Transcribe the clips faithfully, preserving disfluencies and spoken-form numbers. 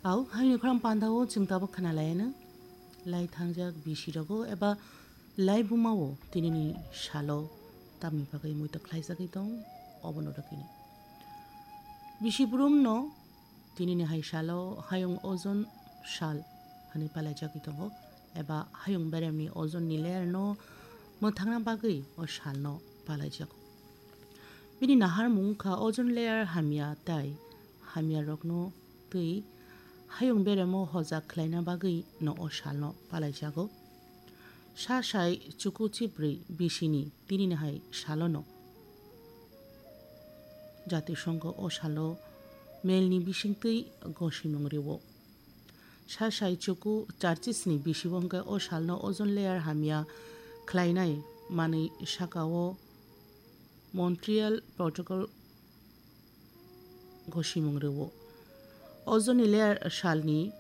Au, haini khorang pandao chwng tabuk khna laiano. Lai thangjak bisi rogo eba lai bumao tinini salo tamni bagwi muitok khlaijagwi tong, obono rwkini. Bisi burumno tinini hai salo hayung ojon sal hwnwi palaijagwi tongo, eba hayung beremni ozonni layerno mwthangna bagwi o salno palaijago. Bini naharmung wngkha ozone layer hamya tai hamyarokno twi hayung beremo hojak khlaina bagwi no o salno palaijago. Sa sai chuku chibrwi bisini tinini hai salono Jatisongho o salo melni bisingtwi gosimung rwo. Sa sai chuku charchisni bisibo hwnkhe o salno ozone layer hamya khlainai manwi sakao Montreal Protocol gosimung rwo. Ozone layer salni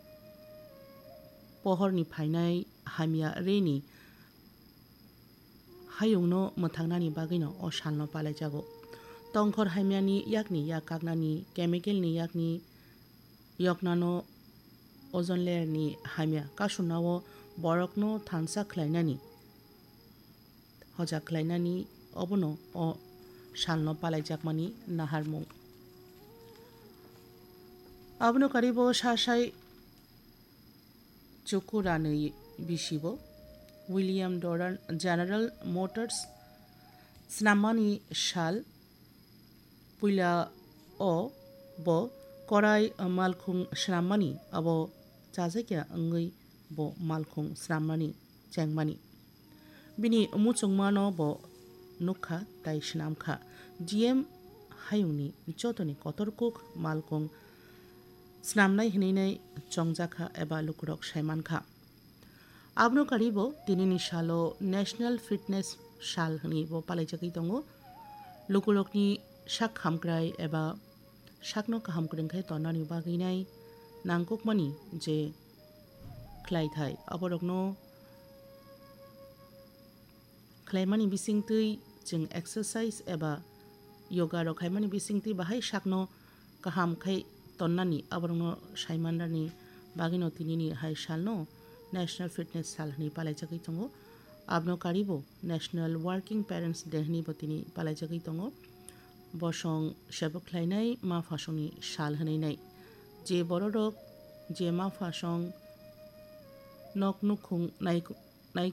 pohorni phainai hamya reni hayungno mwthangnani bagwino o salno palaijago. Tongkhor hamyani yakni yak kaknani, chemicalni yakni yoknano ozone layerni hamya kasunao borokno thansa khlainani, hojak khlainani obono o salno palaijakmani naharmung. Abono karibo sa sai chuku ranwi bisibo William Doran General Motors swnammani sal puila o bo korai malkhung swnammani abo chajakya wngwi bo malkhung swnammani chengmani. Bini muchungmano bo nukha tai swnamkha. G M hayungni jotoni kotor kuk malkhung snamnai hwnwi nai chongjakha eba lukurok saimankha. Abono karibo tinini salo National Fitness Sal hwnwi bo palaijagwi tongo. Lukurokni sak hamkrai eba sakno kaham kwrwng khe tonnani bagwi nai nangkukmani je khlaithai, aborokno khlaimani bisingtwi chwng exercise eba yoga rok khaimani bisingtwi bahai sakno kaham khai tonnani aborokno saimanrani bagwino tinini hai salno National Fitness Sal hwnwi palaijagwi tongo. Abono karibo National Working Parents Day hwnwi bo tini palaijagwi tongo. Bosong sebuk khlainai ma phasongni sal hwnwi nai. Je bororok je ma phasong nok nukhung nai, nai